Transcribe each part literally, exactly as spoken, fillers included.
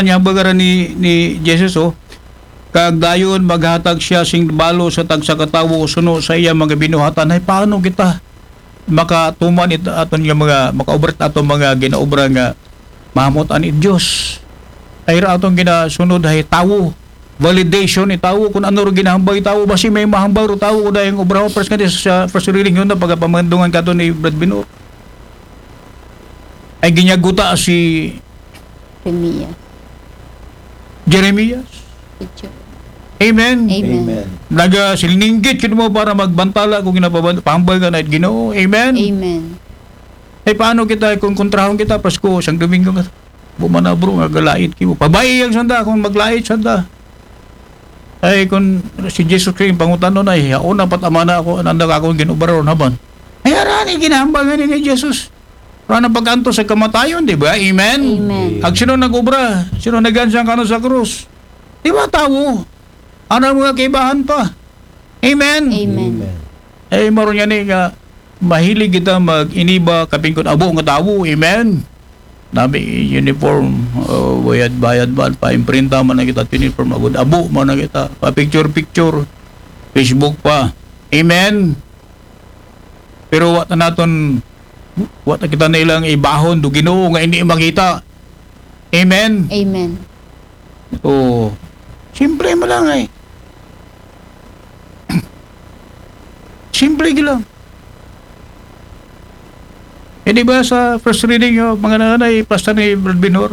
Nya, baga ra ni, ni Jesus, oh, "Kag dayon maghatag siya sing balo sa tagsa ka tawo suno sa iya mga binuhatan." Hay, paano kita makatuman it aton nga mga, makaobra it aton mga ginaobra nga mahamut-an it Dios? Ay ra aton ginasunod hay tawo. Validation it tawo, kun ano ro ginahambal it tawo, basi may mahambal ro tawo, kun dayang obra. First nga sa first reading yun na pagapamandungan kato ni Brad Bino. Ay ginyaguta si Jeremias. Jeremias. Picture. Amen. Amen. Amen. Naga silinggit yun mo para magbantala kung ginapabantala ka na it Ginoo. Amen. Amen. Ay, paano kita kung kontrahon kita Pasko, sang Domingo nga? Bumana, bro, nga galait kimo. Pabai ang sanda kung maglait sanda. Ay, kung si Jesus Christ, pangutanon ay, hauna pat amana ako, nanda ka akong ginobra ron haban. Ay, arani, ginahambal nga ni Jesus. Wala na pag-antos sa kamatayon, di ba? Amen? Amen. Ag sino nag-obra? Sino nagansang kano sa krus? Di ba, tawo? Ano mga kaibahan pa? Amen? Amen. Amen. Eh, maron yan eh, nga, mahilig kita mag-iniba, kapingkod abo nga tawo. Amen? Nami uniform, oh, bayad-bayad ba, pa-imprinta man na kita, uniform, agud abo man na kita, pa-picture-picture, Facebook pa. Amen? Pero wa ta naton, wa ta kita na ilang ibahon do Ginoo nga hindi makita. Amen? Amen. Oh, simple mo lang eh. Simple lang. Eh, di ba sa first reading, oh, mga nanay, pasta ni Brad Binor,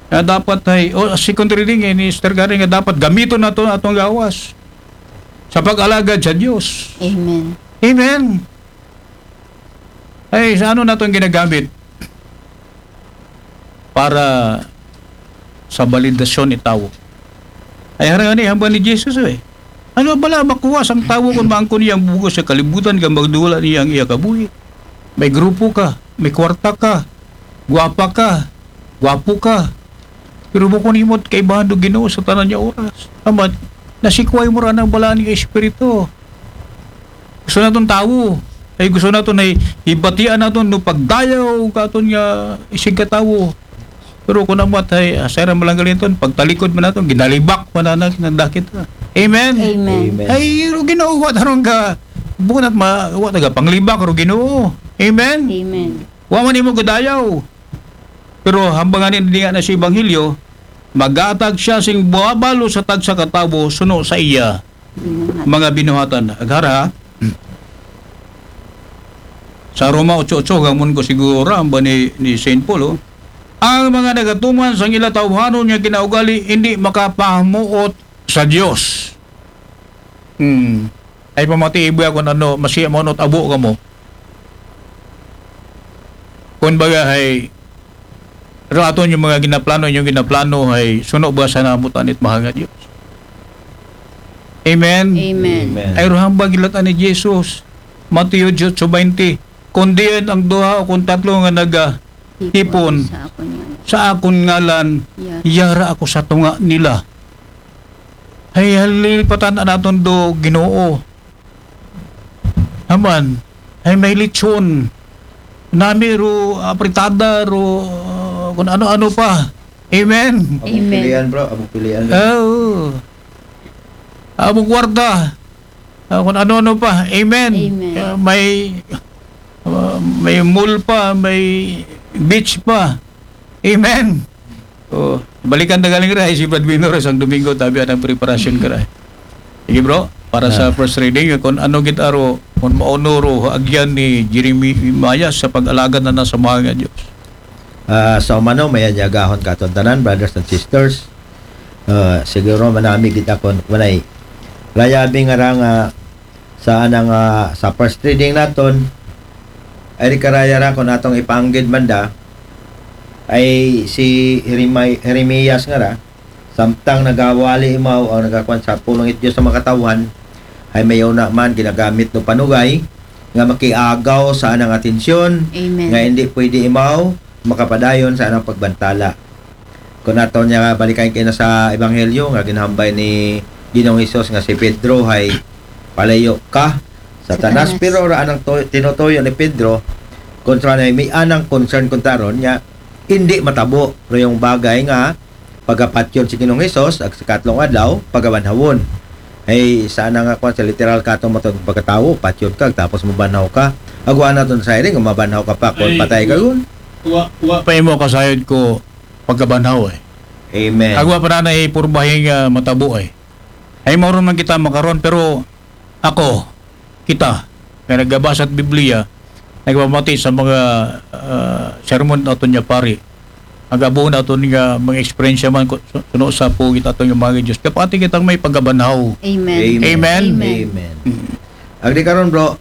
nga dapat ay, o second reading, eh, ni Sister Karen, nga dapat gamiton nato atong gawas sa pag-alagad sa Dios. Amen. Amen. Ay, sa ano nato ang ginagamit? Para sa balidasyon ni tawo. Ay, harang ani, hambal ni Jesus, eh. Ano bala, makuha sang tawo kung maangkon niya ang bugos sa kalibutan, kang magduwala niya ang iya kabuhi? May grupo ka, may kwarta ka, gwapa ka, gwapo ka. Pero bukon himo't kaibahan do Ginoo sa tanan niya oras. Amat, nasikway mo ra ng balaan nga espiritu. Gusto naton tawo. Ay gusto naton ay ibatian naton no pagdayaw katon nga isig ka tawo. Pero kung amat ay asay ra malanggalinton, pagtalikod man naton, ginalibak man na nagdakit na. Amen. Amen. Amen. Ay, ro Ginoo, wa tarong ka, bukon at ma, wa taga panglibak, ro Ginoo. Amen. Amen. Wa man imo gadayaw. Pero hambangan ni nga na si Ebanghelyo, magatag siya sing buwabalo sa tagsa ka tawo suno sa iya mga binuhatan. Aghara, ha? Sa Roma otso otso, gamon ko siguro, ang ba ni, ni Saint Paul, oh? Ang mga nagatuman sang ila tawhanon nga kinaugali, hindi makapamuot sa Dios. Hmm. Ay pamati iba kung ano, masiya mo abo ka mo. Kung baga, hay, pero aton yung mga ginaplano, yung ginaplano, hay, suno ba sa namutan it mahal nga Dios? Amen? Amen. Amen. Ay, ruhang ba gilatan ni Jesus? Mateo eight twenty. Kung diyan ang duha o kung tatlo nga naga, hipon sa akon ngalan, sa akon ngalan, yara, yara ako sa tunga nila. Ay, halilipatan naton do Ginoo. Aman. Ay, may lechon. Nami ro, apritada ro, uh, kung ano-ano pa. Amen. Abong pilian, bro. Abong pilian, bro. Oo. Abong kwarta. Ah, kung ano-ano pa. Amen. Amen. Ah, may, ah, may mall pa, may beach pa. Amen. Oh, balikan na galing ra, eh, si Brad Winner sang Domingo, tabi anang preparasyon ka ra. Sige, bro, para sa first reading, kung ano gid aro, kung mauno ro, agyan ni Jeremiah sa pag-alagad na nasa mahal nga Diyos. Ah, sa umano, may anyagahon katon tanan, brothers and sisters. Ah, siguro manami gid akon, manay. Layabi nga ra nga sa anang, ah, sa first reading naton, ay di karaya ra kung atong ipanggid man da, ay si Jeremi-, Jeremias nga ra, samtang nagawali imaw ang nagakuan sa pulong it Diyos sa makatawhan, ay may una man ginagamit no panugay nga makiagaw sa anang atensyon, amen, nga hindi pwede imaw makapadayon sa anang pagbantala. Kung ato niya balikan kina sa Ebanghelyo nga ginhambay ni Ginoong Hesus nga si Pedro hay palayo ka, Satanas. Satanas. Pero ra anang to-, tinutuyo ni Pedro, kontra na may anang concern kontra ron nga hindi matabo ro yung bagay nga pagapatyon si Ginoong Hesus, ag sa katlong adlaw, pagabanhawon. Ay, saan nga kwan sa literal kato mo itong pagkatao, patyon ka, tapos mabanhaw ka. Agwa na itong siring, mabanhaw ka pa, kung Ay, patay ka yun. Wa, wa. Pa imo kasayod ko pagkabanhaw eh. Amen. Agwa pa na na ipurbahin nga matabo eh. Ay, mauron man kita makaron, pero ako, kita, nga nagabasa at Biblia, nagpamati sa mga ah, sermon aton niya pari. Agabuhon aton nga mga eksperyensya man ko- su- suno sa pugit aton nga mga Diyos. Kapati kitang may pagabanhaw. Amen. Amen. Amen. Amen. Agdi karon, bro,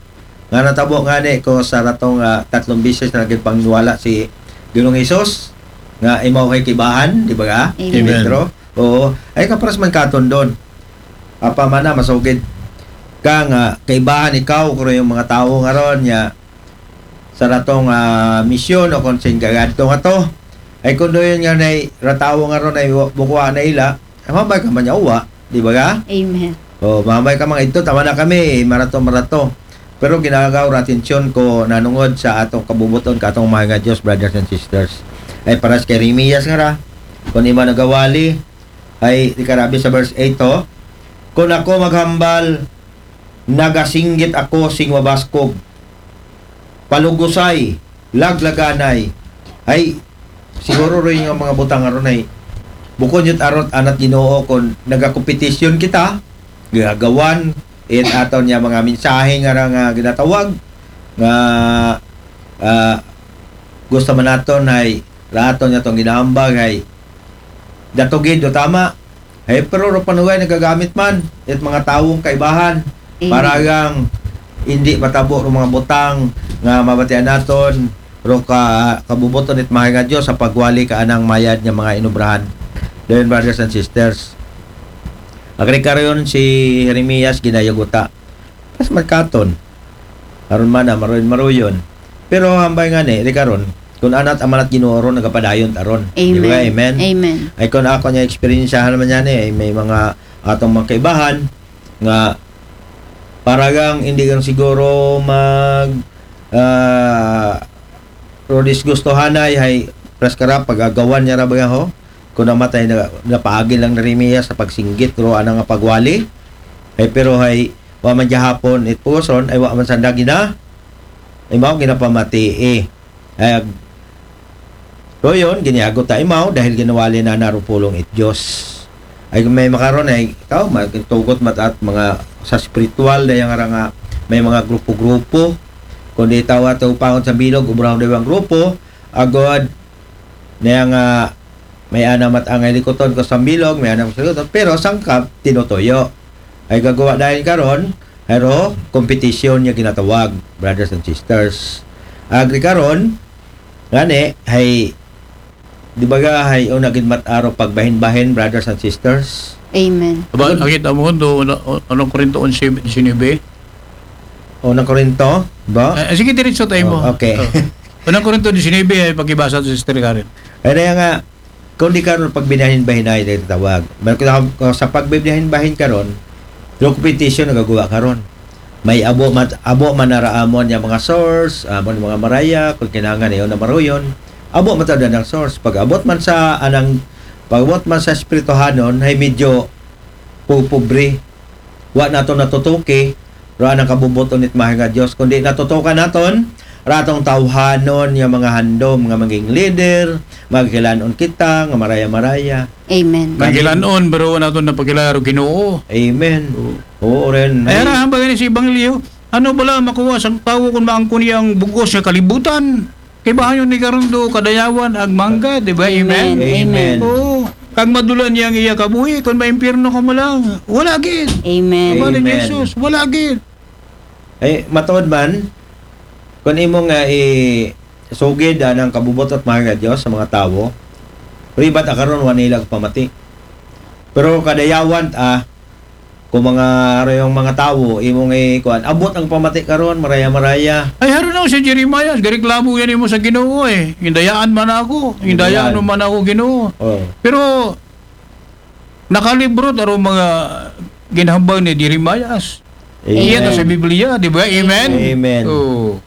nga natabo nga ni ko sa ratong ah, tatlong bisis na naging pangwala si Ginoong Hesus nga imaw kay kibahan, di ba ga? Amen. Si Pedro. Oo. Ay kaparas man katon doon. Apa man na masugid ka nga kaibahan ikaw kuro yung mga tawo nga ron niya sa ratong ah, misyon o kung sing gagadto nga to. Ay kung doon nga na ratawo nga ron ay wa- bukuha na ila, ay mabay ka man niya uwa, di ba ga? Amen. O, mabay ka mga ito, tama na kami, marato, marato. Pero ginagaw ra atensyon ko nanungod sa atong kabubuton ka atong mga nga Diyos, brothers and sisters. Ay paras kay Jeremias nga ra, kung ima nagawali, ay di karabi sa verse eight to, kung ako maghambal, nagasinggit ako sing mabaskog, palugusay, laglaganay. Ay, siguro rin yung mga butang aron ay bukod yun arot anat Ginoo kung nagakompetisyon kita, gagawan, it aton niya mga mensahe nga ra nga ginatawag nga ah, gusto man naton ay raton niya tong ginahambag ay datugid o tama. Ay, pero ro panugay nagagamit man it mga tawong kaibahan Amen. para gang hindi matabo ro mga butang nga mabatian naton ro ka kabubuton it mahal nga Dios sa pagwali ka anang mayad nga mga inubrahan. Then, brothers and sisters, agrikariyon si Jeremias ginayaguta. Pas magkaton. Aron man na maruyon-maruyon. Pero hambay nga ni, di karon, kung anat amanat Ginoo ron nagapadayon taron. Di ba? Amen. Amen. Amen. Ay kung ako niya eksperyensyahan naman niya ni, ay may mga atong mga kaibahan nga paragang hindi kang siguro mag ah, pero disgustuhanay hay pras karap pagagawan niya ra ba ho? Kung namatay na napaagi lang na rin niya sa pagsinggit ro ana nga pagwali. Ay pero hay wa man gihapon it puson ay wa man sanda gina imaw ginapamati eh. Ay ag- so yun, giniagot ta imaw dahil ginawali na narupulong it Diyos. Ay may makaron ay ikaw magtugot mat at mga sa spiritual daya nga ra nga may mga grupo-grupo. Kundi tawa to pangon sa bilog ubrahon dayang grupo agod na nga may ana mat angay likuton ko sa bilog, may ana ko sa likuton, pero sangkap tinutuyo. Ay gagawa dahil karon, pero competition niya ginatawag, brothers and sisters. Agri karon, ngani, hay di ba ga hay una gid mat-aro pagbahin-bahin, brothers and sisters? Amen. Aba, nakita mo do ano, ano Korinto onse disinebe? Unang Korinto, ba? Ah, sige, diretso tayo mo. Oh, okay. Oh. Unang Korinto disinebe ay pakibasa to, Sister Karen. Kaya nga, kung di karon pagbinahin-bahinay na tawag. Balik ko sa pagbinahin-bahin karon, through competition nagagawa karon. May abo man, abo man naraamon niya mga source, amon mga maraya, kung kinangan niyo na maruyon. Abo man tawag ng source. Pag abot man sa anang, pag abot man sa espirituhanon, ay medyo pupobre. Wa nato natutuki, ra anang kabubuton it mahal nga Dios, kundi natutukan naton, ratong tawhanon nga mga handom nga maging leader, magkilanon kita, nga maraya-maraya. Amen. Magilanon, pero wa nato napakilala ro Ginoo. Amen. Oo, ren. Ay, ara, hambag ni si Ebanghelyo, ano bala makuha sang tawo kung maangkon niya ang bugos nga kalibutan? Kay bahayon ni karon do kadayawan ag mangga, di ba? Amen? Amen. Amen. Oo. Kag madula niya ang iya kabuhi, kung maimpyerno ka mo lang, wala gid. Amen. Wala ni Amen. Jesus, wala gid. Ay, matuod man, kung imo nga i sugid anang kabubutot mahal nga Dios sa mga tawo, ribat a karon wa nila pamati. Pero kadayawan ah, kung mga arayong mga tawo, imong ikuan, abot ang pamati karon, maraya-maraya. Ay, haro na si Jeremiah, gareklamo yan imo sa Ginoo eh. Gindayaan man ako, gindayaan Yan. mo man ako Ginoo. Oh. Pero nakalibro taro mga ginhambal ni Jeremiah. Amen. Iya ta sa Biblia, di ba? Amen? Amen. Oh.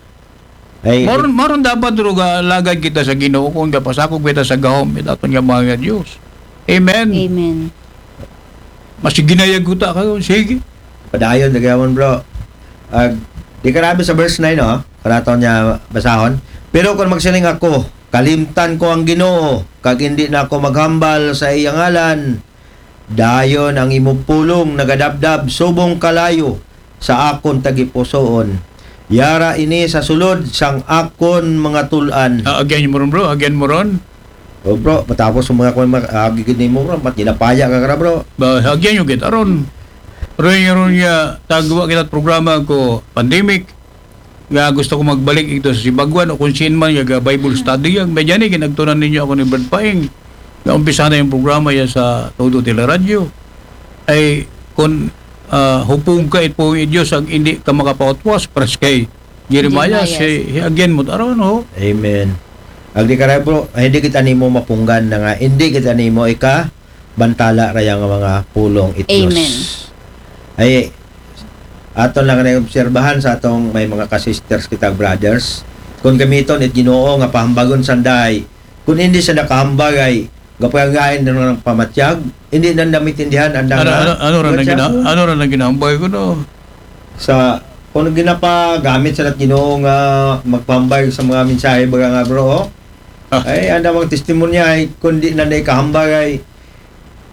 Ay, Maron, maron dapat ro ga lagad kita sa Ginoo kung gapasakog kita sa gahom it aton nga mga Dios. Amen. Amen. Mas ginayag ko ta kayo. Sige. Padayon, dagyawan, bro. Ag, di ka rabi sa verse nine, no? Karaton niya basahon. Pero kung magsiling ako, kalimtan ko ang Ginoo, kag hindi na ako maghambal sa iyang ngalan, dayon ang imong pulong nagadabdab subong kalayo sa akon tagipusoon. Yara ini sa sulod sang akon mga tulan. Ah, again mo ron, bro. Again mo ron. O bro, matapos ang mga kwan, mag- agigid nimo, bro, mat ginapaya ka kara, bro. Ba, again yung kita ron. Ron yung ron niya, tagwa kita programa ko, pandemic. Nga gusto ko magbalik ito sa Sibagwan o kung saan man, yung Bible study yan. Medyan eh, ginagtunan ninyo ako ni Brad Paing. Nga umpisa na yung programa yan sa Todo Teleradyo. Ay, kung ah, hupog ka, it po yung Diyos, ang hindi ka makapautwas, paras kay Jeremiah, Jeremiah. Si, again mo, aron, ho? Amen. Agdi ka, bro, hindi kita nimo mapunggan na nga, hindi kita nimo ika bantala raya nga mga pulong it Dios. Amen. Ay, aton lang na obserbahan sa atong may mga ka-sisters kita, brothers. Kung gamiton it Ginoo nga pahambagon sanday, kung hindi siya nakahambag ay gapayangain na ng pamatyag, hindi na namitindihan ang Ano, ano, ano, rin ang gina, ano rin ang ginambay ko, no? Sa kung ginapagamit sa Ginoo nga magpahambag sa mga mensahe, baga nga, bro, oh. Ah. Ay, ang damang testimonya ay kung di na naikahambag ay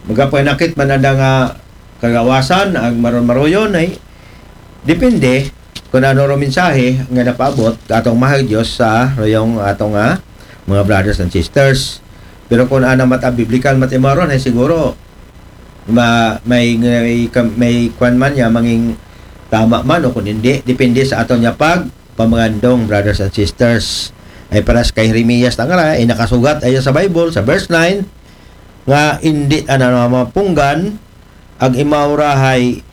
magapanakit man ang nga kagawasan, ang maron-maruyon ay depende kung ano ro mensahe nga napaabot atong mahal Diyos sa rayong atong nga mga brothers and sisters. Pero kung ana mat biblical mat imaron ay siguro ma, may, may, may kwan man niya manging tama man o kung hindi, depende sa aton niya pag pamangandong, brothers and sisters. Ay paras kay Jeremias tangara ay nakasugat ay sa Bible sa verse nine nga hindi ana na mapunggan ag imaw ra hay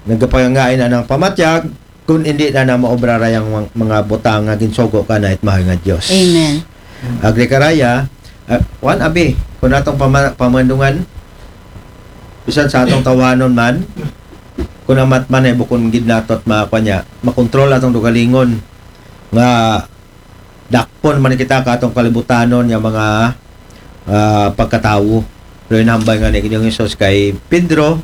nagapangain anang pamatyag kun hindi na na maobra ra yang mga, mga butang nga ginsugo ka na it mahal nga Dios. Amen. Agri karaya, uh, wan abi, kung atong pama, pamandungan, bisan sa atong tawanon man, kung amat man ay bukon gid natot mga kwan niya, makontrol atong dugalingon nga dakpon man kita ka atong kalibutanon nga mga ah, pagkatawo. Pero inambay nga ni Ginoong Hesus kay Pedro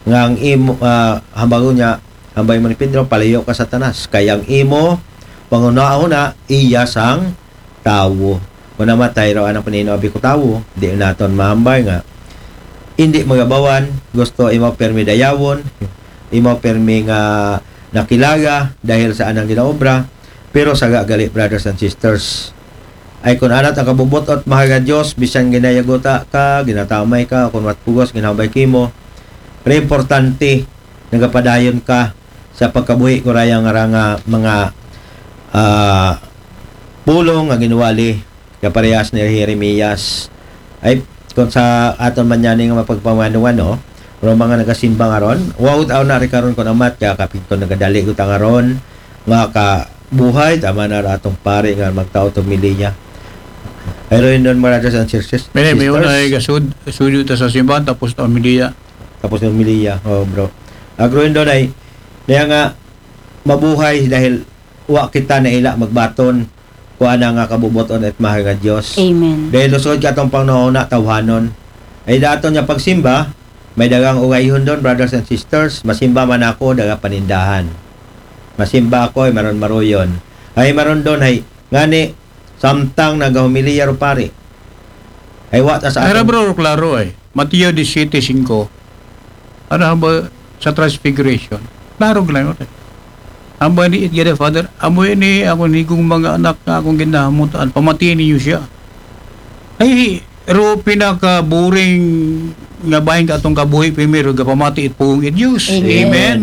nga ang imo ah, hambagon niya, hambay mo ni Pedro, palayo ka Satanas, kay ang imo pangunaon na iya sang tawo. Kung namatay raw anang panino abi ko tawo, di naton mahambay nga hindi magabawan, gusto imo permi dayawon, imo permi nga nakilaga dahil sa anang ginaobra, pero saga gali, brothers and sisters. Ay kun anat ang kabubot-ot, mahal nga Dios, bisan ginayaguta ka, ginatamay ka, kun wat pugos ginhambay kimo, re importante nagapadayon ka sa pagkabuhi ko raya nga ra nga mga ah, pulong nga ginwali kaparehas ni Jeremias. Ay kun sa aton man yani nga mapagpamanduan, no? Pero mga nagasimba nga ron, wow, tao na rin karon kun amat ka kapit kun nagadali ko ta nga ron nga ka buhay, tama na ra atong pare nga magtao to miliya. Pero yun doon, brothers and sisters. May, may sisters. una ay gasud, suyo ta sa simbahan, tapos ta miliya. Tapos yung miliya, oh bro. Agro yun doon ay, kaya nga, mabuhay dahil wa kita na ila magbaton kuan nga kabubuton at mahal nga Dios. Amen. Dahil lusod ka atong panahon na tawhanon. Ay daton nga pagsimba, may dagang ugayhon doon, brothers and sisters. Masimba man ako, daga panindahan. Masimba ako, ay maron maruyon. Ay maron doon, ay ngani, samtang nagahumiliya ro pare. Ay wa ta sa Pero atong- bro, klaro ay. Mateo disisiete singko. Ano ba sa transfiguration? Klaro lang yun. Ang ba ni Itgada Father, amo ini ako nigong mga anak nga akong ginahamutan, pamatiin ninyo siya. Ay, ro pinaka-boring nga bahin ka atong kabuhi, primero, gapamati it pugong it Diyos. Amen. Amen.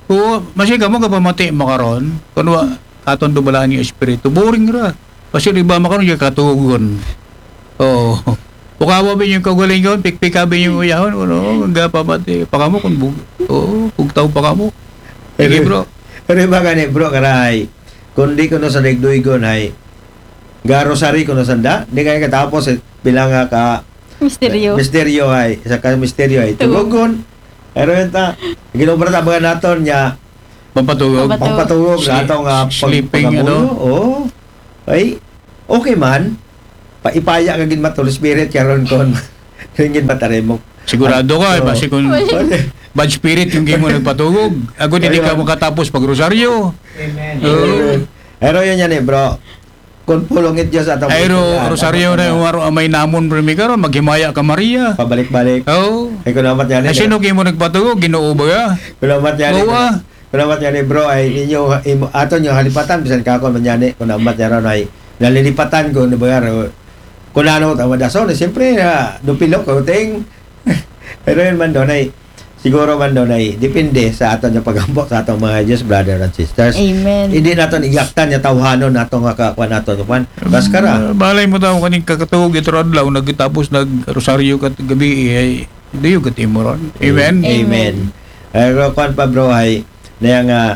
O, masi kamo gapamati makaron, kung wa, aton dubalaan yung espiritu, boring ra. Kasi di ba makaron yung katugon. Oo. Ukawa ba yung kaugalingon, pikpika ba yung uyahon, ano, gapamati, pakamo kung bug, oo, bugtaw pakamo. Sige, bro. Pero ba gani, bro, karay? Kung di ko no sa nagduygon ay, ga rosary ko no sanda, di kaya katapos, eh, bilang nga ka, Misteryo. Misteryo ay, sa ka misteryo ay, Tugog. tugugon. Pero yun ta, ginobra ta mga naton niya, Pampatugog. Pampatugog. pampatugog, Sleep- ato nga sleeping, pagpangabulo. ano? Oo. Ay, okay man. Pa, ipaya ka gid mat Holy Spirit, karon kon. Ringid ba tayo mo? Sigurado ka, eh, basi kung bad spirit yung gimo nagpatugog. Ako, hindi ka makatapos pag rosaryo. Amen. Oo. Pero yun yan eh, bro. Kung pulong it Diyos at ang Ay, ro-, rosaryo na yung waro amay namon, bro, mi karon, maghimaya ka, Maria. Pabalik-balik. Oo. Ay, kung namat yan eh. Ay, sino gimo nagpatugog? Ginoo ba ya? Kung namat yan eh. Oo, ah. Kung namat yan eh, bro, ay ninyo, imo, aton yung halipatan, bisan ka ako man yan eh. Kung namat yan ron ay, nalilipatan ko, ano ba yan? Kung ano, tama dason, eh, siyempre, ah, dupilok, kauting. Pero yun man doon ay, siguro man doon ay, depende sa aton yung pag-ampo sa atong mga Diyos, brother and sisters. Amen. Hindi naton igaktan yung tawhanon nato nga kakuan nato yung kwan. Maskara. Ah, balay mo tao kaning kakatuog ito adlaw, nagtapos nag-rosaryo kat gabi, eh, ay, do you get imo ron? Amen? Amen. Amen. Ay, pero kwan pa, bro, ay, na yung, ah,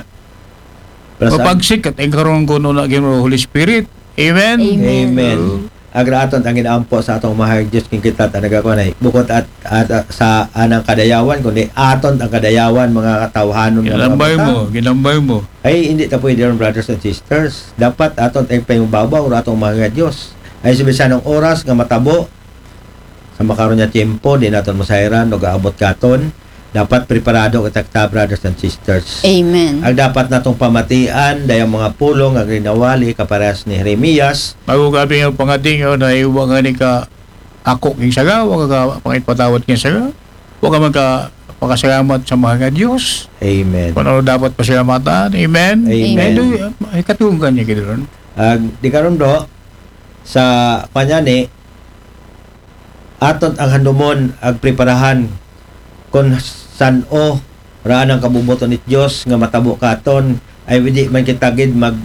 Mapagsik kat ang karon kuno na gino Holy Spirit. Amen? Amen. Amen. Oo. Agra aton ang inaampo sa atong mahal Diyos king kita talaga ko na bukod at, at, at sa anang kadayawan, kundi aton ang kadayawan, mga katawhanon, mga Ginambay mo, kabata. Ginambay mo. Ay, hindi ta pwede ron, brothers and sisters. Dapat aton ang payubabaw ra atong mahal Diyos. Ay, sa bisan ng oras nga matabo, sa makaron nga tiyempo, di naton masayran, no gaabot katon. Dapat preparado kita, kita, brothers and sisters. Amen. Ang dapat natong pamatian, dayang mga pulong, ang rinawali, kaparehas ni Jeremias. Bago ka ping pangating, oh, na iwa nga ni ka ako king saga, wa ka pangit patawad king saga, wa ka magka-, pakasalamat sa mahal nga Diyos. Amen. Kung ano dapat pasalamatan. Amen. Amen. Ay, do-, ay, katunggan niya kita ron. Ag, di karon, bro, sa kanya ni, aton ang handumon, ag preparahan, kung san-o, raan ang kabubuton it Diyos, nga matabo katon, ay, hindi man kita gid mag,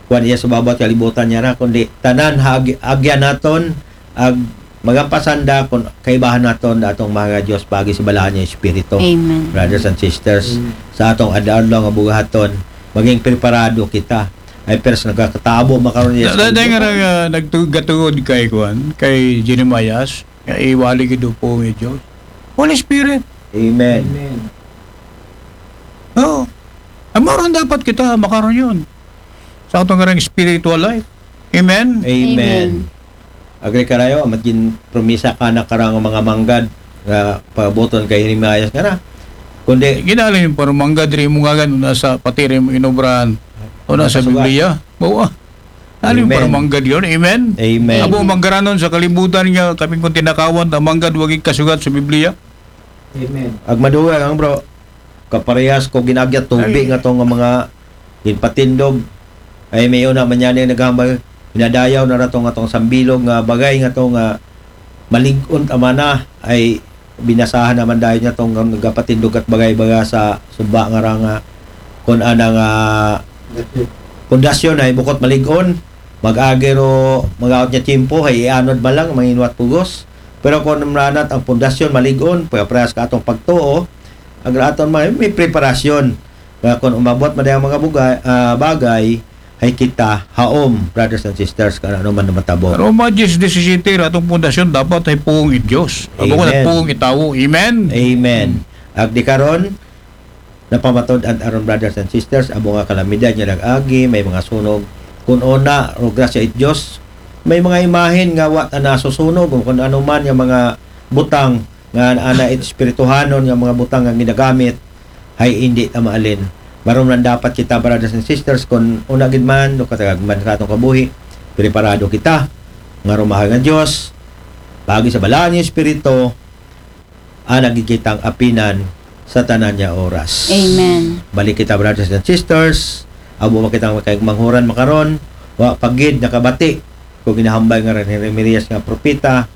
kuwan iya sa bawat kalibutan niya ra, kundi tanan, ha, ag-, agyan naton, ag, magampasanda, kung kaibahan naton, atong mga Diyos, pagi sa balahan niya Espiritu. Amen. Brothers and sisters, Amen. Sa atong adlaw nga buhaton, maging preparado kita. Ay, pero sa nagkakatabo, makaroon niya Da-, da-, da-, nga, ah, nagtugatuod kay, kuwan, kay Jeremias, nga iwali gid po ang Diyos. Holy Spirit. Amen. Amen. Oo. Ang moron dapat kita, makaroon yun. Sa atong karang spiritual life. Amen? Amen. Amen. Agri karayo, amat gin promisa ka na karang mga manggad, nga pabuton kay Jeremias nga na. Kundi Ginali yung parang manggad, rin mo nga ganun, nasa pati rin mo inobrahan. O nasa Nasa sugat. Biblia. Bawa. Ano yung Amen. Parang manggad yun? Amen? Amen. Abo, manggaranon sa kalibutan nga, kaping kung tinakawan, ang manggad, wagig kasugat sa Biblia. Amen. Ag maduwa lang, bro. Kaparehas ko ginagya tubig Ay. Nga to nga mga ginpatindog. Ay, may una man yan yung naghambal. Pinadayaw na rato nga tong sambilog nga bagay nga to nga malig-on tama na. Ay, binasahan naman dahil nga tong nagapatindog at bagay-baga sa suba nga ra nga kung ana nga pundasyon ay bukot malig-on. Mag-agi ro, mag-aot niya tiyempo, ay ianod ba lang, manginwat pugos. Pero kung namranat ang pundasyon, malig-on, pagkaprehas ka atong pagtuo, ang aton may, may preparasyon. Kaya kung umabot man ang mga bugay, ah, bagay, ay kita, haom, brothers and sisters, kung ano man na matabo. Roma diyes disisiyete, atong pundasyon, dapat ay puong i Diyos. Abo ko Amen. Nagpuong i tawo. Amen? Amen. Ag di karon, napamatod ang aron brothers and sisters, abo nga kalamidad nga nag-agi, may mga sunog. Kung una, ro grasya it Diyos, may mga imahen nga wa na nasusunog, o kung ano man nga mga butang nga ana it espirituhanon nga mga butang nga ginagamit, ay hindi ta maalin. Maron lang dapat kita, brothers and sisters, kung una gid man, o katagag man sa atong kabuhi, preparado kita. Nga rumahal nga Diyos, pagi sa balaan niya Espiritu, ah, nagigitang apinan sa tanan niya oras. Amen. Balik kita, brothers and sisters. Abo makita ang kay manghuran makaron. Wa pagid nakabati. Kung ginahambal nga rin ni Remedias nga propeta,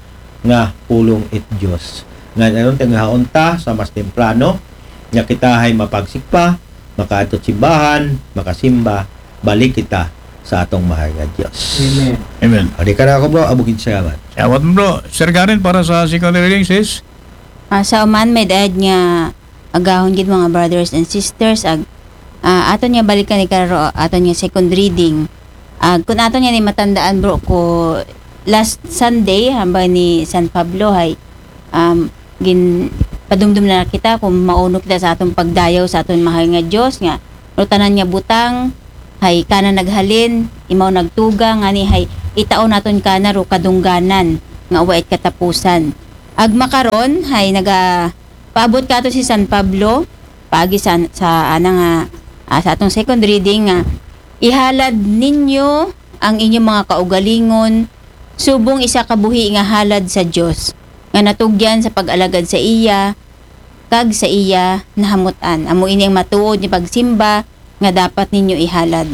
nga pulong it Diyos. Nga nanon, tingahaon ta sa mas temprano, nga kita ay mapagsikpa, makaadto simbahan, makasimba, balik kita sa atong mahal nga Diyos. Amen. Amen. O, di ka na ako, bro. Abugin salamat. Salamat, bro. Sir Karen, para sa second reading, sis? Ah, sa uman, may daad nga agahon gid, mga brothers and sisters, ag, ah, aton nga balikan ni karo, aton nga second reading. Ag, kung aton nga ni matandaan, bro, ko last Sunday, hambal ni San Pablo, hay, um, gin, padumdum na kita kung mauno kita sa aton pagdayaw sa aton mahal nga Diyos, nga, no tanan nga butang, hay, kana naghalin, imaw nagtuga, nga ni, hay, itaon naton kana, ro kadungganan, nga wa it katapusan. Ag makaron, hay naga paabot kato si San Pablo, paagi sa, sa ana nga, ah, sa atong second reading nga, "Ihalad ninyo ang inyong mga kaugalingon, subong isa ka buhi nga halad sa Dios, nga natugyan sa pag-alagad sa iya, kag sa iya nahamut-an." Amo ini ang matuod nga pagsimba nga dapat ninyo ihalad.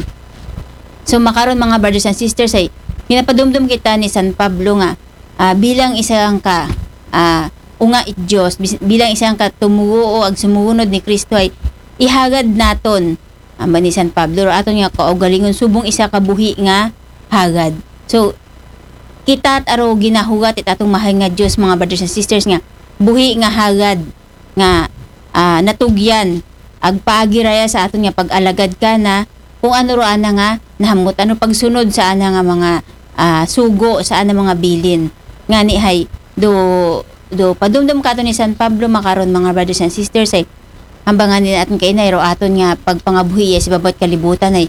So, makaron, mga brothers and sisters, ay ginapadumdum kita ni San Pablo nga, ah, bilang isang ka, ah, unga it Dios, bis-, bilang isang ka tumuo ag sumuunod ni Kristo, ay ihagad naton, amba ni San Pablo, ro aton nga kaugalingon subong isa ka buhi nga hagad. So, kita at aro ginahugat it atong mahal nga Dios, mga brothers and sisters, nga buhi nga hagad nga, ah, natugyan ag paagi raya sa aton nga pag-alagad kana, kung ano ro ana nga nahamut-an, pagsunod sa ana nga mga, ah, sugo, sa ana mga bilin. Ngani hay, do, do padumdum kato ni San Pablo makaron, mga brothers and sisters, ay hambal ngani aton kaina, ro aton nga pagpangabuhi sa ibabaw it kalibutan ay,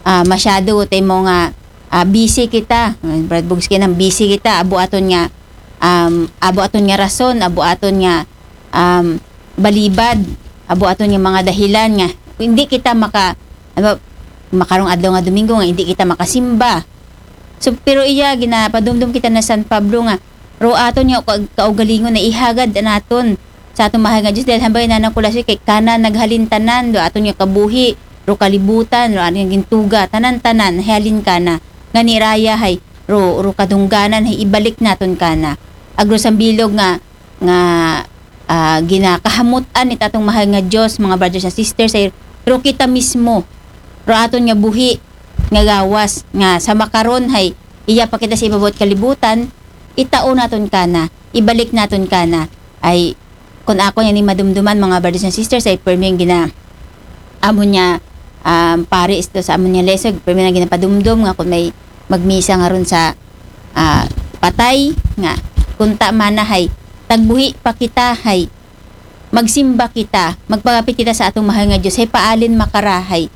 ah, masyado tay mo nga, ah, busy kita. Brad Bugs, kinang busy kita, abo aton nga, um, abo aton nga rason, abo aton nga, um, balibad, abo aton nga mga dahilan nga hindi kita maka, ano, makarong adlaw nga Domingo nga hindi kita makasimba. So, pero iya, ginapadumdum kita na San Pablo nga, ro aton nga ka-, kaugalingon na ihagad naton sa atong mahal nga Dios, dahil hambal na nang Kulasyo, kay kana naghalin tanan, do aton nga kabuhi, ro kalibutan, ro aton nga gintuga, tanan-tanan, halin kana. Ngani raya hay, ro, ro kadungganan hay ibalik naton kana. Ag ro sambilog nga, nga, ah, ginakahamut-an it atong mahal nga Dios, mga brothers and sisters, ay ro kita mismo, ro aton nga buhi, nga gawas, nga sa makaron hay iya pa kita sa ibabaw it kalibutan, itao naton kana, ibalik naton kana. Ay, kun ako niya ni madumduman, mga brothers and sisters, ay permi nga gina-, amo niya, um, pare isto sa amo niya lesson, permi nga ginapadumdum nga kun may magmisa nga ron sa, ah, patay, nga kun ta man na hay tagbuhi pa kita, hay magsimba kita, magpagapit kita sa atong mahal nga Dios, hay paalin makara, hay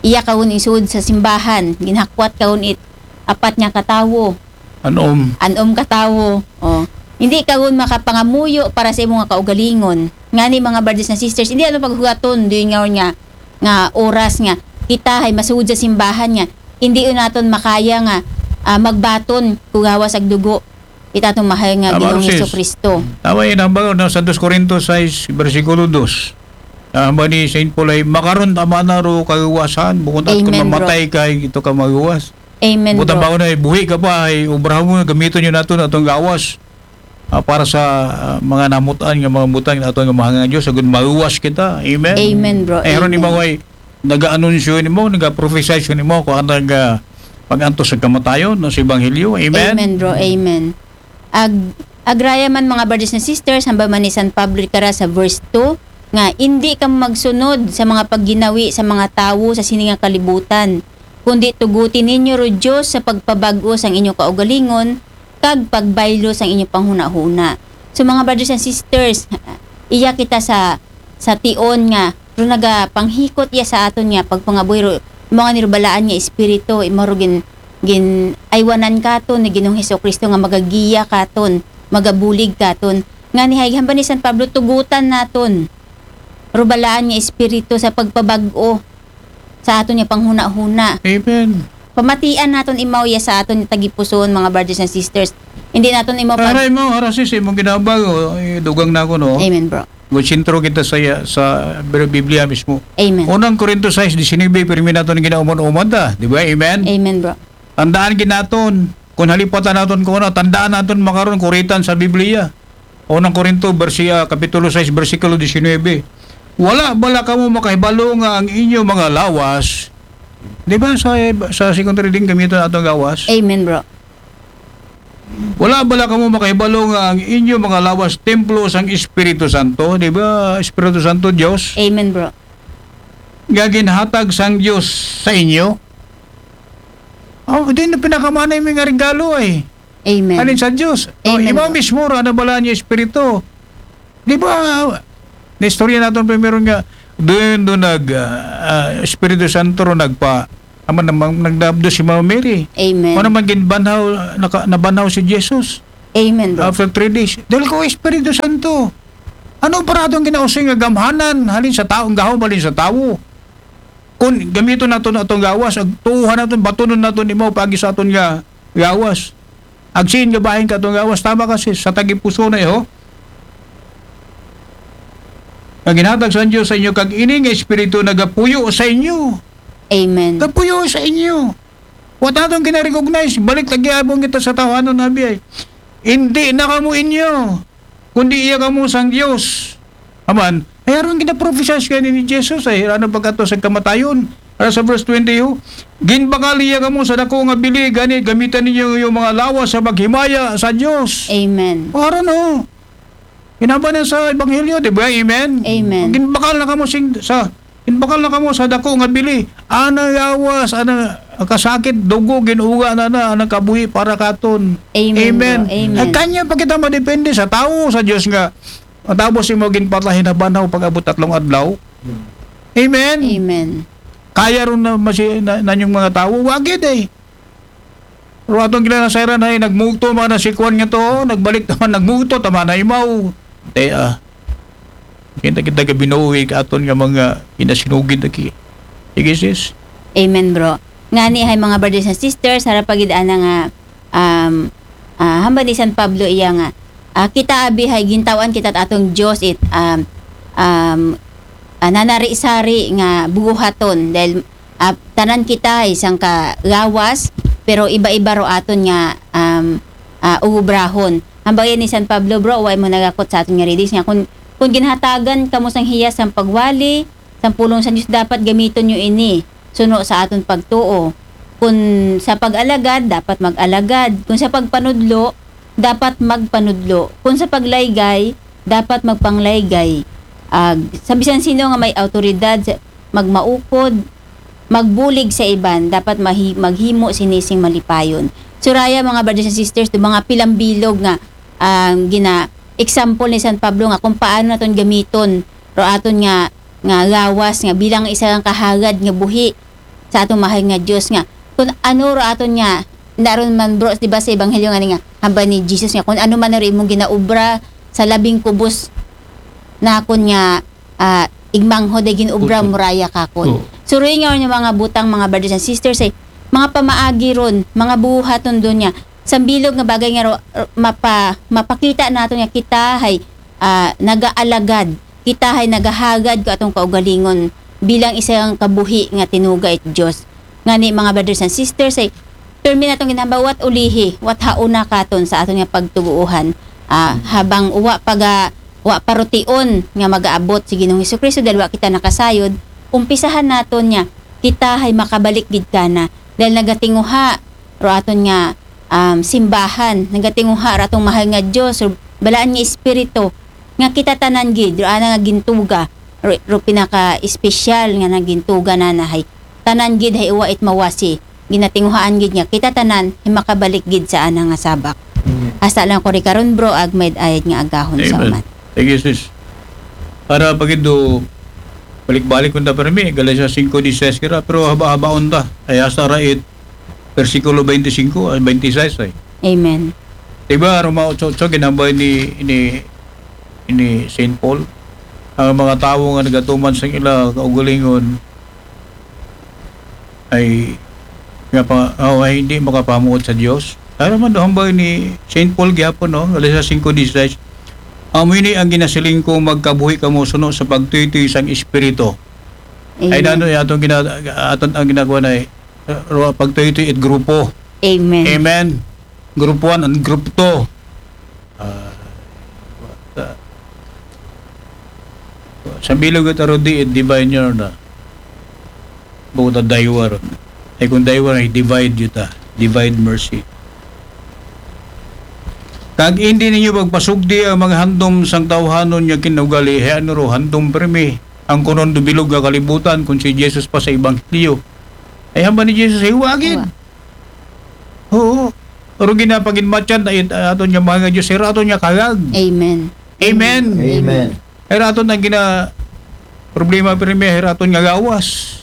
iya kawon isuod sa simbahan, ginhakwat kawon it apat nga katawo. Anom. Anom katawo. Oh. Hindi kawon makapangamuyo para sa imo nga kaugalingon. Ngani, mga brothers and sisters, hindi aton paghugaton, do nga, nga, nga oras nga kita hay masuod sa simbahan nga hindi naton makaya nga, ah, magbaton kugawas ag dugo it atong mahal nga Tama, Ginoong Sis. Jesucristo. Tama yun, hambal na sa dos Corinto sais, bersikulo dos. Ah, hambal ni Saint Paul ay, "Makaron tama na ro kagawasan, bukod at Amen, kung bro. Mamatay ka, ito ka magawas." Amen, Bukod bro. Tama na, buhi ka pa, ay obrahon mo, gamiton yun nato na itong gawas. Ah, para sa, ah, mga namutan nga mga butang na itong mahal nga Diyos, agud magawas kita. Amen? Amen, bro. Ay, haron Amen. Ni mga ay, naga-anunsyo nimo, naga-prophesy nimo, kung ano nga pag-antos sa kamatayon, no, sa Ebanghelyo. Amen? Amen, bro. Amen. Ag-, agraya man, mga brothers and sisters, hambal man ni San Pablo kara sa verse two, nga, "Indi kamo magsunod sa mga pagginawi sa mga tawo sa sini nga kalibutan, kundi tuguti ninyo ro Diyos sa pagpabag-o sang inyo kaugalingon, kag pagbaylo sang inyo panghunahuna." So, mga brothers and sisters, iya kita sa, sa tion nga, ro nagapanghikot iya sa aton nga pagpangabuhi ro, mga nirubalaan nga espiritu, imo ro gin-, gin-aywanan katon ni Ginoong Hesukristo nga magagiya katon, magabulig katon. Ngani hay hambal ni San Pablo, tugutan naton rubalaan nga espiritu sa pagpabag-o sa aton nga panghunahuna. Amen. Pamatian naton imaw iya sa aton nga tagipusoon, mga brothers and sisters. Hindi naton imaw pag- Aray mo, harasis, imong ginabag, o, eh, dugang na ako, no? Amen, bro. Magsentro kita sa, sa Biblia mismo. Amen. Unang Korinto sais disinuybe, pirmi naton nga ginaumon-umon ta, di ba? Amen? Amen, bro. Tandaan gid naton, kung halipatan naton kung ano, tandaan naton makaron, kuritan sa Biblia. Unang Korinto, bersi-, ah, Kapitulo sais, bersikulo disinuybe. "Wala bala kamo makahibalo nga ang inyo mga lawas," di ba sa, sa second reading, gamiton atong gawas? Amen, bro. "Wala bala kamo makahibalo nga ang inyo mga lawas templo sang Espiritu Santo?" Di ba, Espiritu Santo, Diyos? Amen, bro. "Nga ginhatag sang Diyos sa inyo?" Oh, di na pinakamanay mi nga regalo ay. Amen. Anin sa Diyos. Oh, Amen, imo bro. Mismo ra na bala niya Espiritu. Di ba, naistorya naton primero nga, doon, doon nag, ah, ah, Espiritu Santo ro nagpa-, naman, naman, nagdabdo si Mama Mary. Amen. Ano man ginbanhaw, naka-, nabanhaw si Jesus. Amen, bro. After three days, dahil ko Espiritu Santo. Ano para atong kinausoy nga gamhanan halin sa tawo, ang gahom halin sa tawo? Kung gamiton naton atong gawas, ag tuohan naton, batunon naton imaw pagi sa aton nga gawas. Agsiin nga bahin ka atong gawas, tama kasi sa tagipuso na iho. Nga ginhatag sa Dios sa inyo, kag ini nga Espiritu nagapuyo sa inyo. Amen. Gapuyo sa inyo. Wa ta atong gina-recognize, balik lagi abong kita sa tawhanon na biya. Hindi na kamo inyo, kundi iya kamo sang Dios. Aman, ay aron ginaprophesy kani ni Jesus ay, ano pagkato sa kamatayon. Para sa verse twenty, oh, ginbakal iya kamo sa dako nga bili, gani gamitan ninyo yung mga lawas sa paghimaya sa Dios. Amen. Aron, oh. Ginaba na sa Ebanghelyo, di ba? Amen? Amen. Ginbakal na kamo sing, sa, ginbakal na kamo sa dako nga bili. Ana lawas, ana kasakit, dugo, ginuga na na, ana kabuhi para katon. Amen, bro. Amen. Ay, kanya pa kita madepende sa tawo, sa Dios nga. Matapos imo ginpatay, hinabanhaw pag-abot tatlong adlaw. Amen. Amen. Kaya ron na masi-, na, nanyong mga tawo, wagid eh. Pero atong kinasayran ay nagmugto man na si Kwan nga to, nagbalik naman, nagmugto, tama na imaw. Te, ah. Kita, kita ka binuwi ka aton nga mga kinasinugid aki. Sige, sis. Amen, bro. Ngani hay mga brothers and sisters, harap pagid ana nga, um, ah, hambal ni San Pablo iya nga, ah, kita abi hay gintawan kita atong Dios it, um, um, ah, nanari-sari nga buhaton dahil, ah, tanan kita hay sangka gawas, pero iba-iba ro aton nga, um, ah, ubrahon. Hambal ni San Pablo, bro, way mo nagakot sa aton nga readings nga kung, kung ginhatagan kamo sang hiyas sang pagwali, sang pulong sang Dios, dapat gamiton nyo ini suno sa aton pagtuo. Kung sa pag-alagad, dapat mag-alagad. Kung sa pagpanudlo, dapat magpanudlo. Kung sa paglaygay, dapat magpanglaygay. Ag, sa bisan sino nga may awtoridad, sa, magmaukod, magbulig sa iban, dapat mahi-, maghimo sini sing malipayon. Suraya, mga brothers and sisters, do mga pilang bilog nga, ah, gina-example ni San Pablo nga kung paano naton gamiton ro aton nga, nga gawas nga bilang isa nga kahagad nga buhi sa aton mahal nga Dios nga. Kung ano ro aton nga, naron man, bro, di ba sa Ebanghelyo nga ni nga, hambal ni Jesus nga, kung ano man ro imong ginaobra sa labing kubos nakon nga, ah, igmanghod ay ginobra, okay, muraya kakon. Oh. Suroy nga yung mga butang, mga brothers and sisters, ay mga pamaagi ron, mga buhaton doon niya. Sambilog nga bagay nga ro-, ro-, mapa-, mapakita nato nga kita hay, ah, nagaalagad, kita hay nagahagad ko atong kaugalingon bilang isang kabuhi nga tinuga it Dios. Ngani, mga brothers and sisters, ay permi natong ginhambawat ulihi, wat hauna katon sa aton nga pagtuguuhan. Ah, habang uwa paga, wa parution nga magaabot si Ginoong Hesukristo dahil wa kita nakasayod, umpisahan naton niya, kita hay makabalik gid kana. Dahil nagatinguha ro aton nga, um, simbahan, nagatinguha ro atong mahal nga Dios, ro balaan nga Espiritu, nga kita tanan gid, ro ana nga gintuga, ro, ro pinaka-espesyal nga nagintuga na na hay, tanan gid hay uwa it mawasi, ginatinguhaan gid nga, kita tanan, hay makabalik gid sa ana nga sabak. Amen. Hasta lang ko ri karon, bro, ag may ayad nga agahon sa, amen, uman. Thank you, sis. Para pagido, balik-balik kung ta permi, Galacia cinco dieciséis kira, pero haba-habaon ta. Ay, hasta ra it, bersikulo twenty-five, ah, twenty-six ay. Amen. Diba, Roma eight eight, ginambay ni, ni, ni Saint Paul, ang mga tawo nga nagatuman sa ila kaugalingon ay nga pa, oh, ay hindi makapamuot sa Dios. Ano man daw hambay ni Saint Paul gyapon, no? Galacia cinco dieciséis. Amo ini ang ginasiling ko, magkabuhi kamo suno sa pagtuytoy sang Espiritu. Ay, amen, nano, atong gina-, aton ang ginagawa na, eh, ro-, pagtuytoy it grupo. Amen. Amen. Group one and group two. Ah, sa, sa bilog at arudi, it divine yun na. Bukod na daywa ron. Ay, kung daywa na, divide yuta. Divine mercy. Kag hindi ninyo pagpasugdi ang mga handom sang tawhanon nga kinugali, hay ano ro, handom permi. Ang kunon do bilog nga kalibutan, kung si Jesus pa sa Ebanghelyo. Ay, hamba ni Jesus, ay, wagid. Wa. Oo. Pero ginapaginmatyan, ay, aton nga mahal nga Dios, ay, aton nga kagag. Amen. Amen. Amen. Ay, aton ang gina-, problema, permi, ay, aton nga gawas.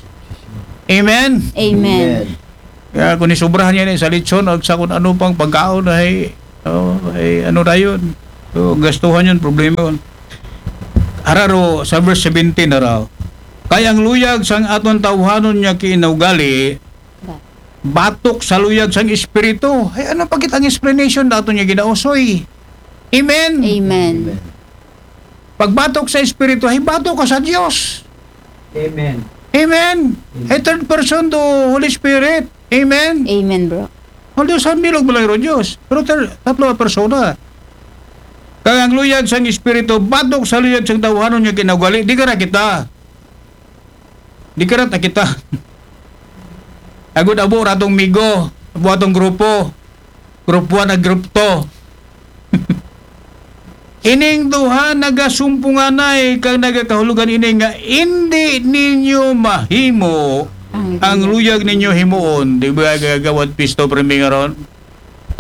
Amen. Amen. Amen. Kaya kung isubrahan niya ni sa litson, o sa kung ano pang pagkaon, ay, Oh, eh, ano ra yun? So, gastuhan yun, problema yun. Hararo, sa verse seventeen, hararo. Kay ang luyag sang aton tawhanon nga kinaugali, batok sa luyag sang Espiritu. Ay, ano pa kita ang explanation nato niya, Ginoo, soy? Amen. Amen. Pagbatok sa Espiritu, ay batok ka sa Dios. Amen. Amen. Ay third person to Holy Spirit. Amen. Amen, bro. Although sa bilog mo lang yung Diyos, pero ter- tatlo ang persona. Kaya ang luyag sang Espiritu, batok sa luyag sang tawhanon nga kinaugali, di ka na kita. Di ka na kita. Agud abo ratong migo, abo atong grupo. Group one at group two. Ining duha nagasumpunganay kag nagakahulugan ini nga indi ninyo mahimo ang luyag ninyo himuon. Di ba gagawad pisto priming aron?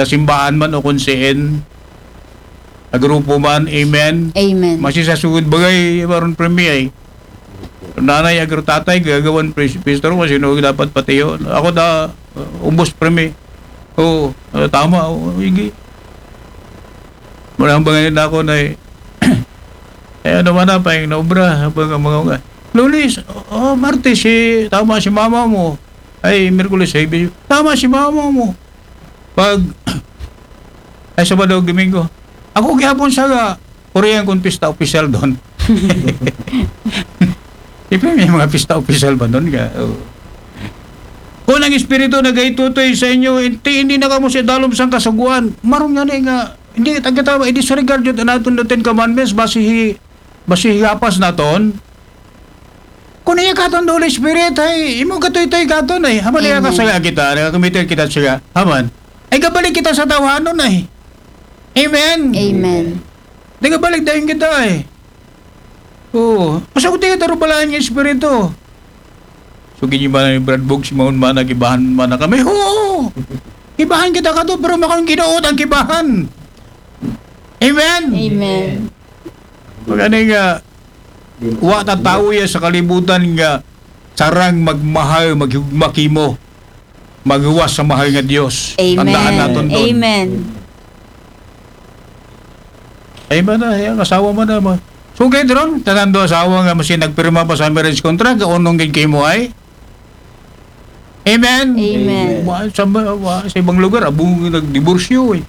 Sa simbahan man o kung saan. Sa grupo man, amen. Amen. Masi sa sugod bagay, maron primi ay. Nanay, agro tatay, gagawan pres- pastor mo, sino dapat patiyo? Ako da, uh, umbos primi. Oo, uh, tama, oo, igi. Mula ang bangin ako na eh. Eh, ano man na, paing na obra, habang ang mga mga. Lunes, oh, Martes, si, tama si mama mo. Ay, Merkules, ay, tama si mama mo. Pag, ay, Sabado, Domingo. Ako gihapon sa nga, Korean kung pista official doon. Di ba may mga pista official ba doon? Nga, oh. Kung ang Espiritu nagaitutoy sa inyo, hindi, hindi na kamo siya dalom sang kasuguan. Maroon nga na nga, hindi, tagkatawa, i-disregard yun natin the Ten Commandments, basi hi, basi higapas naton. Kung iya katon the Holy Spirit, ay, imo katoy-toy katon, ay, haman iya Amen. kasaya kita, nakakumiter kita siya, haman. Ay, gabalik kita sa tawhanon, ay. Amen. Amen. Di gabalik dayon kita, ay. Oo. Pasok tayo tarubalaan ng Espiritu. So, ginibala ni Brad Bog, si Maun Mana, kibahan mana kami. Oo! Kibahan kita ka to, pero makang ginoot ang kibahan. Amen? Amen. Pag ano nga, wa ta tawo ya sa kalibutan nga sarang magmahal, maghigugma kimo, maghuwas sa mahal nga Dios. Amen. Tandaan naton doon. Amen. Ay ba na, yung asawa mo na mo. So, kay Dron, tanan do asawa nga masi nagpirma pa sa marriage contract, unong gid kimo ay? Amen? Amen. Wa, sa, wa, sa ibang lugar, abong nagdiborsyo eh.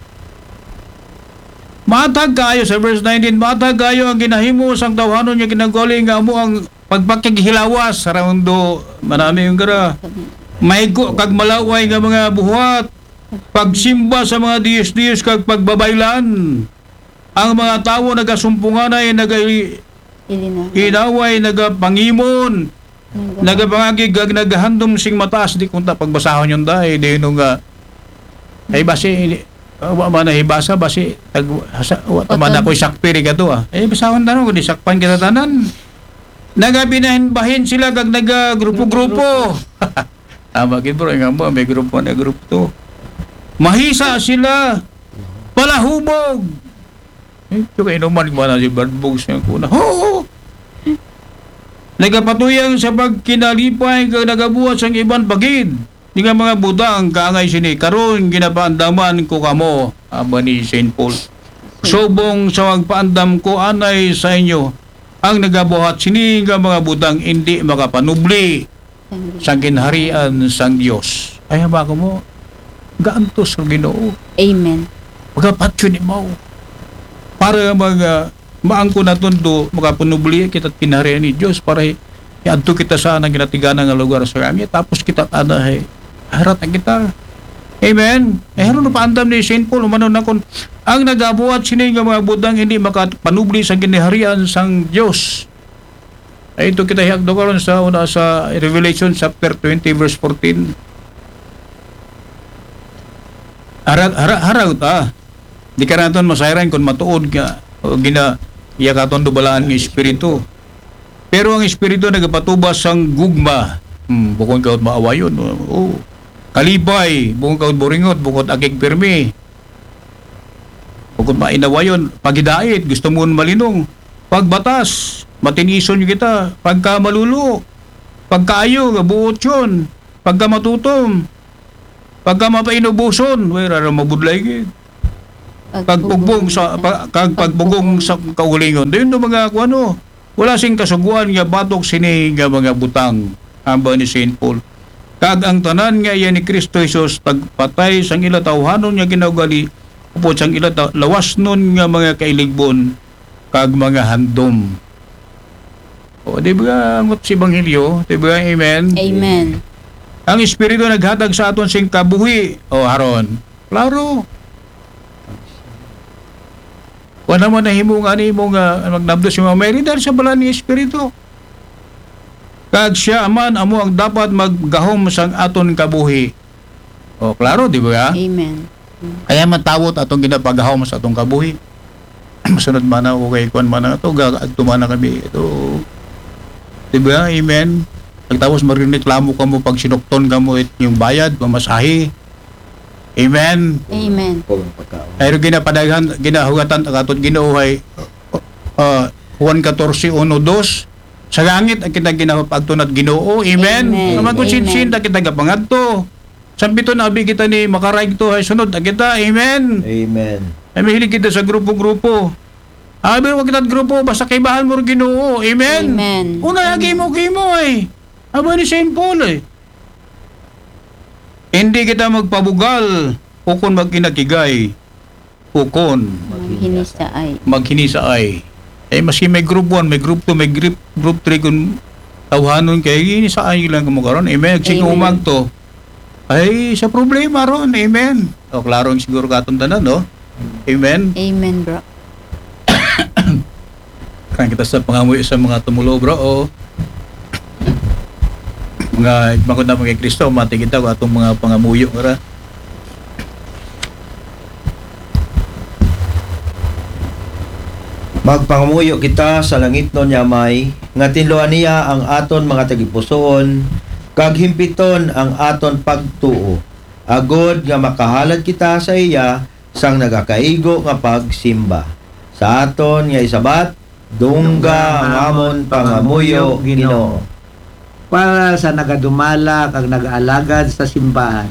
Matag kayo sa verse nineteen, matag kayo ang ginahimo sang tawhanon nga kinagwali nga amo ang pagpakighilawas sa raundo, manami yung gara. Maigo kag malaway nga mga buhat, pagsimba sa mga diyos-diyos kag pagbabaylan. Ang mga tawo nagasumpunganay, naga Ilina. inaway, nagapangimon, nagapangagig, kag nagahandom sing mataas, di kunta pagbasahon yung dai, di nung nga, ay basi, ah, wa man na hibasa, basi, tag, sa, wa, tama na Oton. Ko'y sakpiri ka to ah. Eh, basahon tanan, kung di sakpan kita tanan. Nagabinahin-bahin sila, kag nagagrupo-grupo. Tama gid bro, nga mo, may grupo na grupo to. Mahisa sila, palahubog. Eh, ito kayo naman, wala si Brad Boggs nga kuna. Oo! Nagapatuyang sa pagkinalipay, kag nagabuhat sang iban pagid. Di nga mga butang, kaangay sini, karon ginapaandaman ko kamo, aba ni Saint Paul. Subong sa magpaandam ko anay sa inyo, ang nagabuhat sini nga mga butang hindi makapanubli sang ginharian sang Dios. Ay, haba ko mo, gaantos ko Ginoo. Amen. Magapatyo ni Mao. Para mag, ah, maangko naton do, makapanubli kita kinaharian ni Dios, para i-, iadto kita sa anang ginatiganan nga lugar sa langit. Tapos kita ana, eh, harat na kita. Amen. Eh, haron paandam ni Saint Paul, umano na kun, ang nagabuhat sini nga mga butang hindi makapanubli sa ginharian sang Dios. Ay, ito kita hiagdo karon sa una sa Revelation chapter twenty, verse fourteen. Hara, hara, hara, ah. Di ka naton masayran kung matuod nga, o gina, iya katon dubalaan nga espiritu. Pero ang espiritu nagapatubas sang gugma. Hmm, bukod ka maawayon. Oh. Kalipay, bukod ka buringot, bukod akig pirmi. Bukod mainawayon, pagidait, gusto mo malinong. Pagbatas, matinison kita. Pagka malulo, pagkaayo, gabuot yun. Pagka matutom, pagka mapainubuson, wala ra mabudlay gid. Kag pugbong sa pa, kag pagbugong sa kaugalingon. Dayon no mga kuano, wala sing kasuguan nga batok sini nga mga butang, hambal ni Saint Paul. Kag ang tanan nga iya ni Kristo Jesus tagpatay sang ila tawhanon nga kinaugali, upod sang ila ta- lawasnon nga mga kailigbon kag mga handom. O, di ba, angot sa Ebanghelyo? Di ba? Amen? Amen. Ang Espiritu naghatag sa aton sing kabuhi. O, haron. Klaro. Wa naman nahimo nga nimo nga magnabdos si Mama Mary dahil sa balaan ni Espiritu. Kag siya man amo ang dapat maggahom sang aton kabuhi. O, klaro, di ba? Amen. Kaya matawot atong ginapagahom sa atong kabuhi. Masunod man na, okay, kuan man na, ito, ga- adto man na kami, ito. Di ba? Amen. Pagtapos marireklamo ka mo pag sinukton ka mo it yung bayad, mamasahe. Amen. Amen. Pero ginapadaghan, ginahugatan, ang aton Ginoo ay, uh, Juan fourteen, one, two. Sa langit ang kita ginapagtunat Ginoo. Amen. Amen. Amen. Amen. Sinta kita gapangadto. Sambiton abi kita ni makaraig to ay sunod na kita. Amen. Amen. Ay mahilig kita sa grupo-grupo. Abi, wag kita grupo, basta kaibahan mo rin Ginoo. Amen. Amen. Una, amen. Agi mo, kimo eh. Aba ni Saint Paul eh. Hindi kita magpabugal, ukon magkinakigay, ukon maghinisaay. Maghinisaay. Eh, maski may group one, may group two, may group, group three, kung tawhanon kay hinisaay lang kamo karon. Amen. Amen. Sigumag to. Ay, sa problema ron. Amen. O, klaro ang siguro katong tanan, no? Amen. Amen, bro. Kan kita sa pangamuyo sa mga tumulo, bro, o mga magod na mga Kristo, mati kita ko atong mga pangamuyo, ra. Magpangamuyo kita sa langitnon nga Amay, nga tinluan niya ang aton mga tagipusoon, kag himpiton ang aton pagtuo, agod nga makahalad kita sa iya sang nagakaigo nga pagsimba. Sa aton nga isabat, dungga ang amon pangamuyo, Ginoo. Para sa nagadumala kag nagaalagad sa simbahan,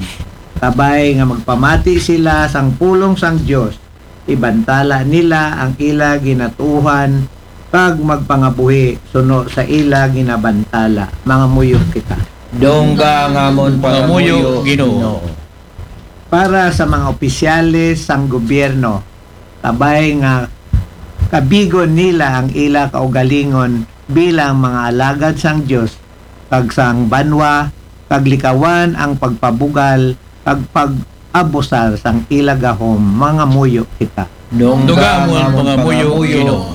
kabay nga magpamati sila sang pulong sang Dios, ibantala nila ang ila ginatuohan kag magpangabuhi suno sa ila ginabantala. Mangamuyo kita. Dungga ang amon pangamuyo, Ginoo. Para sa mga opisyales sang gobyerno, kabay nga kabigon nila ang ila kaugalingon bilang mga alagad sang Dios kag sang banwa, kag likawan ang pagpabugal kag pag-abusar sang ila gahom. Mangamuyo kita. Dungga amon pangamuyo,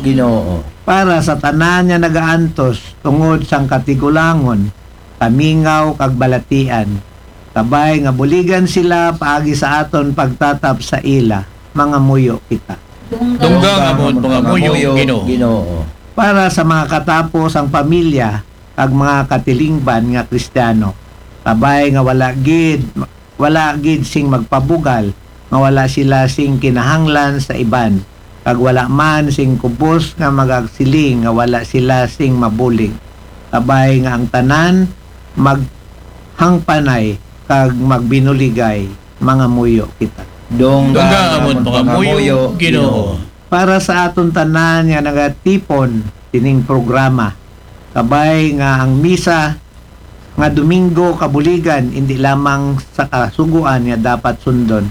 Ginoo. Para sa tanan nga nagaantos tungod sang katigulangon, kamingaw kag balatian, kabay nga buligan sila paagi sa aton pagtatap sa ila. Mangamuyo kita. Dungga ang amon pangamuyo, Ginoo. Para sa mga katapo sang pamilya kag mga katilingban nga Kristiyano, kabay nga wala gid, wala gid sing magpabugal, nga wala sila sing kinahanglan sa iban, kag wala man sing kubos nga magasiling nga wala sila sing mabulig, kabay nga ang tanan maghangpanay kag magbinuligay. Mangamuyo kita. Dungga amon pangamuyo, Ginoo. Para sa aton tanan nga nagatipon sining programa, kabay nga ang misa nga Domingo kabuligan indi lamang sa kasugoan nga dapat sundon,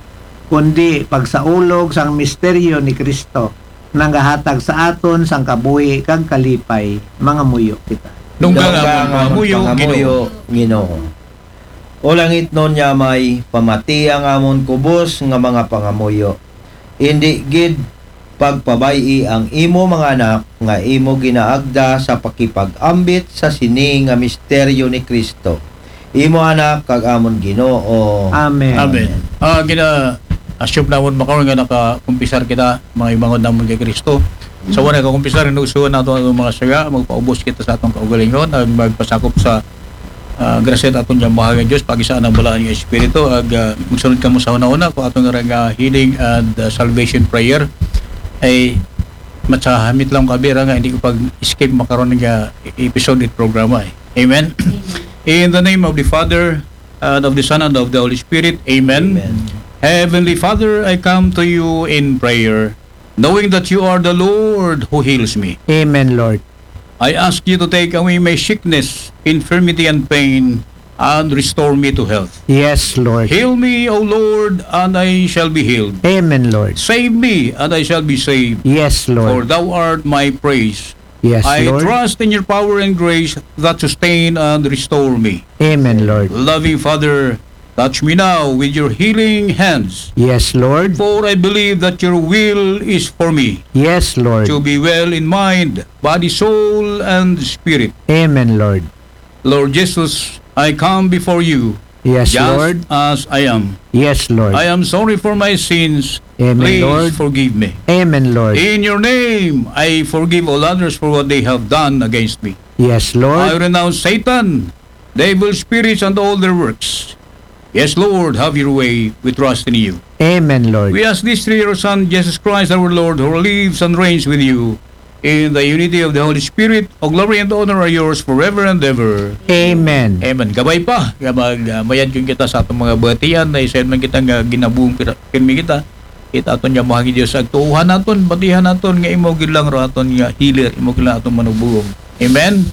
kundi pagsaulog sang misteryo ni Kristo, nagahatag sa aton sang kabuhi kag kalipay. Mangamuyo kita. Dungga amon pangamuyo, Ginoo. O langitnon nga Amay, pamati ang amon kubos nga mga pangamuyo. Indi gid pagpabay-i ang imo mga anak nga imo ginaagda sa pakipag-ambit sa sini nga misteryo ni Kristo, imo Anak kag amon Ginoo. Amen. Amen. Ah, gina-assume namon makaron nga nakakumpisar kita, mga imangon namon kay Kristo. Sa wala kakumpisar, inusuhan nato ang mga saga, magpaubos kita sa atong kaugalingon, ag magpasakop sa ah, grasya ta aton nga mahal nga Dios, pagisaan ang balaan nga Espiritu, ag, ah, magsunod kamo sa una-una ko aton nga, nga healing and, ah, salvation prayer. Ay, matsahamit lang kabira nga hindi ko pag-escape makaron nga episode it programa eh. Amen? Amen. In the name of the Father, and of the Son, and of the Holy Spirit. Amen. Amen. Heavenly Father, I come to you in prayer, knowing that you are the Lord who heals me. Amen, Lord. I ask you to take away my sickness, infirmity, and pain, and restore me to health. Yes, Lord. Heal me, O Lord, and I shall be healed. Amen, Lord. Save me, and I shall be saved. Yes, For Lord. Thou art my praise. Yes, I Lord. Trust in your power and grace that sustain and restore me. Amen, Lord. Loving Father, touch me now with your healing hands. Yes, Lord. For I believe that your will is for me Yes, Lord. To be well in mind, body, soul, and spirit. Amen, Lord. Lord Jesus, I come before you Yes, just Lord. As I am. Yes, Lord. I am sorry for my sins. Amen, Please Lord. Forgive me. Amen, Lord. In your name, I forgive all others for what they have done against me. Yes, I Lord. Renounce Satan, devil spirits, and all their works. Yes, Lord, have your way. We trust in you. Amen, Lord. We ask this through your Son, Jesus Christ, our Lord, who lives and reigns with you in the unity of the Holy Spirit. All glory and honor are yours forever and ever. Amen. Amen. Kabay pa, nga mag, ah, mayad kun kita sa atong mga batian, na isayon man kita nga ginabuong pira-, pirmi kita. Kita aton nga mahangin Diyos, agtuuhan naton, batihan naton, nga imo gid lang ro aton nga healer, imo gid lang aton manubugong. Amen.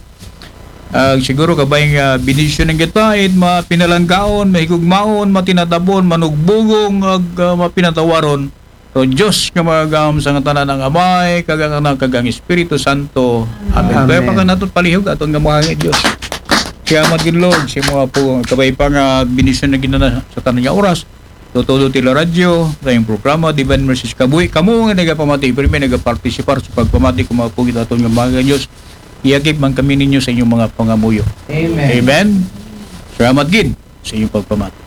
Ah, siguro kabay nga bendisyon ng kita, it mapinalanggaon, mahigugmaon, matinatabon, manugbugong, ag ah, mapinatawaron. So, Diyos nga magagam sa ngatanan ang Amay, kag ang Anak, kag ang Espiritu Santo. Amen. Amen. Kaya pa ka nato palihog, aton nga mahangin Diyos. Kaya magin Lord, si mga po, kabay pa nga bendisyon na ginana sa tanan nga oras. Tutudo ti La Radyo, sa iyong programa, Divine Mercies Kabuhi. Kamo nga nagapamati, pirmi nagapartisipar sa pagpamati, kung mga pugit aton nga mga Diyos, iyagip man kami ninyo sa inyong mga pangamuyo. Amen. Amen. Salamat gid sa inyong pagpamati.